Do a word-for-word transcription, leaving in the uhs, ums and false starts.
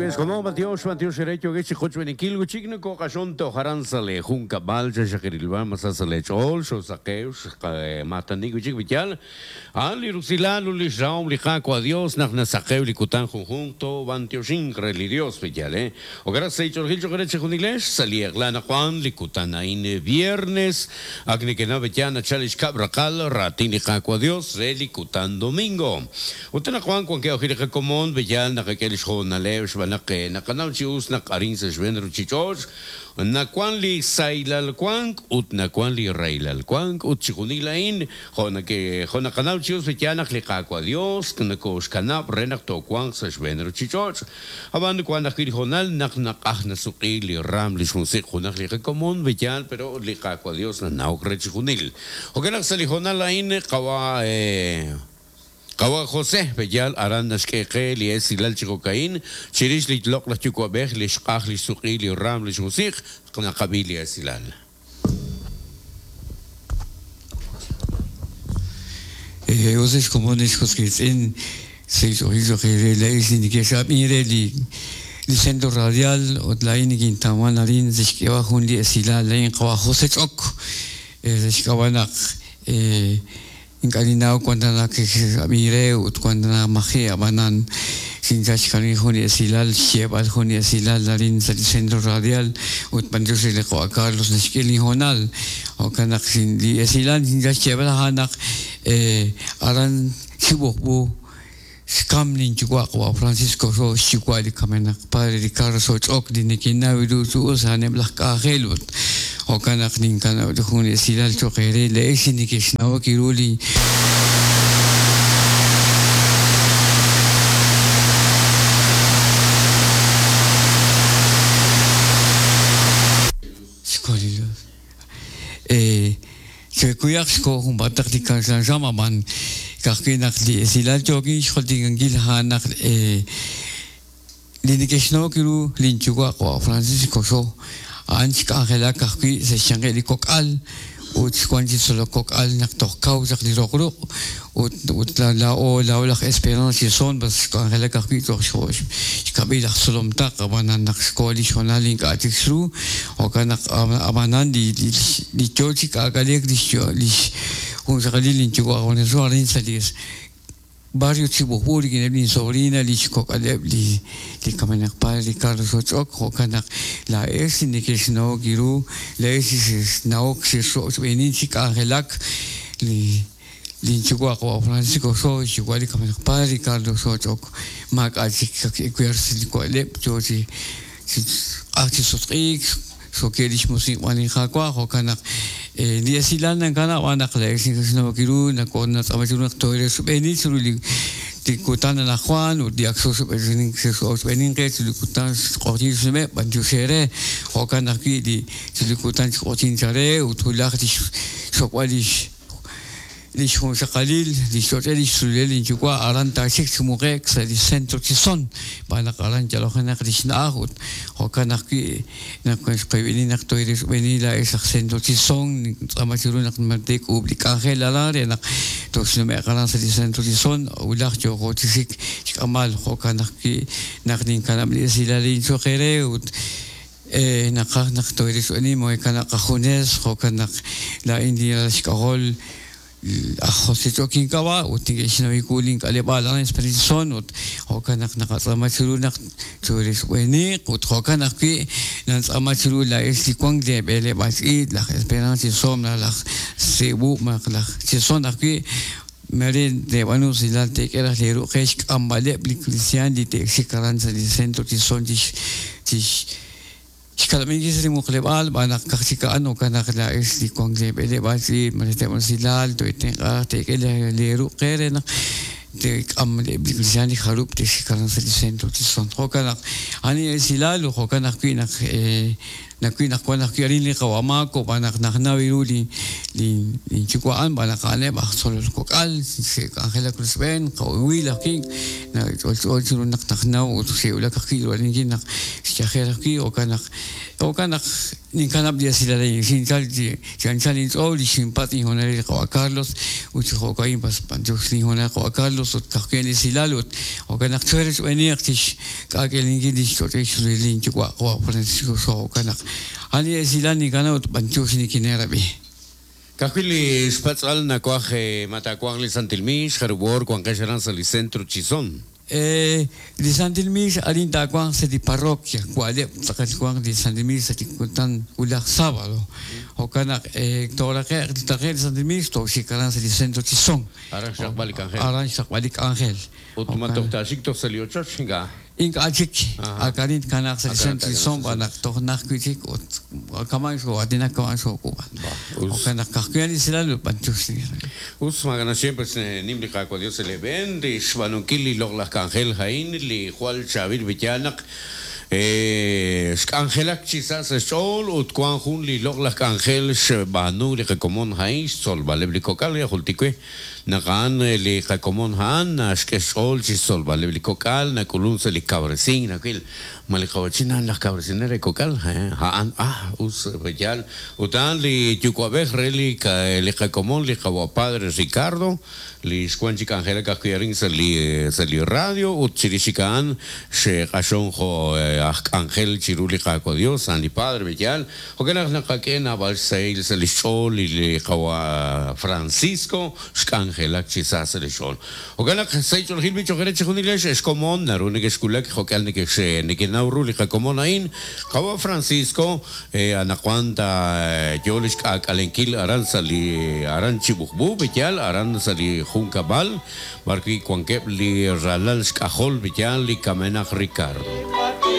Como Matios, Matios Erecho, que chicocho en Equilgo, Chigno, Cocasonto, Jaranzale, Junca, Balcha, Shakirilba, Masasale, Chol, Sosaqueus, Matanico, Chiquivial, Ali Rusilano, Lisraum, Lijaco, adiós, Nagnasakeu, Licutan, Junto, Bantiosin, Relidios, Villale, o gracias, Chorgil, Choreche, Juniles, Salieglana, Juan, Licutanain, viernes, Agniquena, Bellana, Chalish, Cabracal, Ratin, Lijaco, adiós, Relicutan, domingo. Utena Juan, Juan, que ojirija común, Villal, Najaquel, Jonalev, Shbanake, Nakanau, Chius, Nakarin, Seshven, Ruchichos, Nakuan li Sailalcuanc, ut Nakuan li Reilalcuanc, ut Chijunilain, Jonake, Jonakanau, Chius, Villana, Lijaco, adiós, Nakoshkanab, Renak, Tocuan, Seshven, Ruchichos, Aban, Juan, Jonal, Nak, Nak, Nasuki, Li Ram, Lishmusik, Junaj, Lija Común, Villal, pero Lijaco, adiós, Nanauk, Rechijunil. Okenak, Salijonalain, Kawa, eh. Kawa José, Bellal, Arandas Keke, Lies, Silal Chicocaín, Chirish, Litlok, La Chucuabej, Lishkaj, Lisuki, Liram, Lishmusik, Knakabi, Silal. Eh, Oses comunes, Josquetzin, seis ojizo, li centro radial, Otlain, Quintaman, Arin, Zishkewa, Junli, Silal, Lain, Kawa José Chok, Zishkawanak, eh. Incalinao cuando la que mire cuando la magia banan sin chashkani juni silal shebal juni silal darin el centro radial ut pandios le a Carlos nashkili honal o kanak sin li silal sin chashebal hanak eh aran chibobu Skamlin chihuahua Francisco so chihuahua kamenak padre Ricardo so chok dinikinawiru su usanem las cajelut o kanak nin kana juni silal choquere le esinikishnawa kiruli eh se cuidaxco un batak di man kakinak li silal choki xoltingangil hanak eh linikishnawa linchuwa Francisco so anch angela kakwi se changeli kokal ut kwanji solo kokal nak tokau sak li rokro ut ut la la o la o la esperanza son bas angela kakwi tok shosh kabila solom tak abanan nak skoli shonalin ka tixru o kanak abanan di di chochi kakalek di li un sakalin chuwa on soarin salis barrio Chibujuri, que sobrina, li Chicocaleb, li li Kamenak padre Ricardo Sochok, Jokanak, la es, ni que no Giru, la es, Naok, Beninchik, Angelak, li li Chihuahua, Francisco So, Chihuahua, Kamenak padre Ricardo Sochok, Mac, Achik, Quers, Licoaleb, Chochi, Achis, Sokelish Musik, Wanijakua, Jokanak. Li silan ng kana wanak le sin no kiru na kon na tama churu toire subeni churu li di kutan na Juan u di akso subeni so subeni ke churu kutan qotin sume banju sere o kana ki di churu kutan qotin chare u tulaq di sokwali li shun qalil li shoteli suleli chukwa aran taxik chumuqek sa di centro chison bana aran jalojana krishna ut o kana ki na qibini na toire subeni la es centro chison tama churu na mantek publicaje la la na to sume aran sa di centro chison ulaq yo chisik amal o kana ki na nin kana li silali chokere ut eh naqaj naq toire subeni mo kana qajunes o kana la india shkagol José Joaquín Kawa, utingeshinawikuling kalebalan esperison, ut hokanak nakasamachulunak turis wenik, ut hokanak ki nansamachulu la eslikwang de bele basit, la esperanza somna la cebu mak la chison aquí Mere de Buenos Aires te que las leru que ambale cristian di te xikaranza di centro tison di Xkalamenkis ri muqleb'al b'anaq kajchikaan o kanaq la es li kuan leb'eleb'al mariteb'al toitenq'aj tek'el leruqere naq tek'am leb'likrishan li jarub te xikaranza li centro tison jokanaq ani esilal jokanaq kuinaq Nakwi naq wan ajwi' arin li qawa' Maako b'an naq najnaw ru li li linyuwa'an b'an naq a'aneb' aj tzolol kok'al xe'k'anjelak rochb'een qawiil ajwi' nach'olch'o chiru naq najnaw ut xe'wulak ajwi' ru'aninkil naq xyajer ajwi' jo'kan naq jo'kan naq ninkanab' li esilal a'in xinchal chi chi anchal inch'ool li xinpatz' inhonal li qawa' Carlos ut chi jo'ka'in pas b'antiox linhonal qawa' Carlos ut kajwi' li esilal ut jo'kan naq chwe rochb'eeniq chixk'aak'alenkil li xch'och'il linyuwa' qawa' Francisco jo'kan naq a'an li esilal ninkanab' ut b'antiox nikineerab'i. Kajwi' li xpatz'al nakuaj matakuaj li Santil Mix, jarub'or wanqex aran sa' li centro Chisón. Eh, li Santil Mix arin taawanq sa' li parroquia wa'leb' tz'aqal wanq li Santil Mix sa' li kutan wulaj sábado. Jo'kan naq eh, tooraqe'q taqe'q li Santil Mix tooxik aran sa' li centro Chisón. Aran xraqb'al li k'anjel. Aran xraqb'al li k'anjel. Ut matoj taxik toj sa' li ochoch ink'a'. Ink'a' chik Aha. akarin kanaq sa' li Akarin centro Chisón b'an naq toj naj wi' chik ut kaman xoo'aatinak kaman xook'ub'an. Us. Jo'kan naq kajwi' li esilal ut b'antiox Us magana siempre nim li Qaawa' Dios le ben li xb'aanunkil li loq'laj k'anjel ha'in li jwal chaab'il b'iyal naq eh, xk'anjelak chi sa' sa' xch'ool ut wan jun li loq'laj k'anjel xb'aanu li qakomon ha'in xtzolb'aleb' li kok'al ya jultikwe naq a'an li qakomon ha'an naxk'e xch'ool chi xtzolb'aleb' li kok'al nak'ulun sa' li kawresink nawil ma li qawachin a'an laj kawresinel re kok'al eh, ha'an ah us b'iyal ut a'an li yuwa'b'ej re li ka- li qakomon li qawa' padre Ricardo li xwan chi k'anjelak ajwi' arin sa' li sa' li radio ut chirix chik a'an xe'q'axon jo' aj k'anjel chiru li Qaawa' Dios a'an li padre b'iyal jo'kan naq naqak'e naab'al xsahil sa' li xch'ool li li qawa' Francisco xk'anjelak chi sa' sa' li xch'ool jo'kan naq sa' ch'oolejil bicho'jere chi junilex xkomon naru neke'xkulak jo'kan neke'x neke'naw ru li qakomon a'in qawa' Francisco eh, anaqwan ta yo li xk'aak'alenkil aran sa' li aran Chibujbu b'iyal aran sa' li junkab'al b'arwi' wankeb' li ralal xk'ajol b'iyal li kamenaq Ricardo.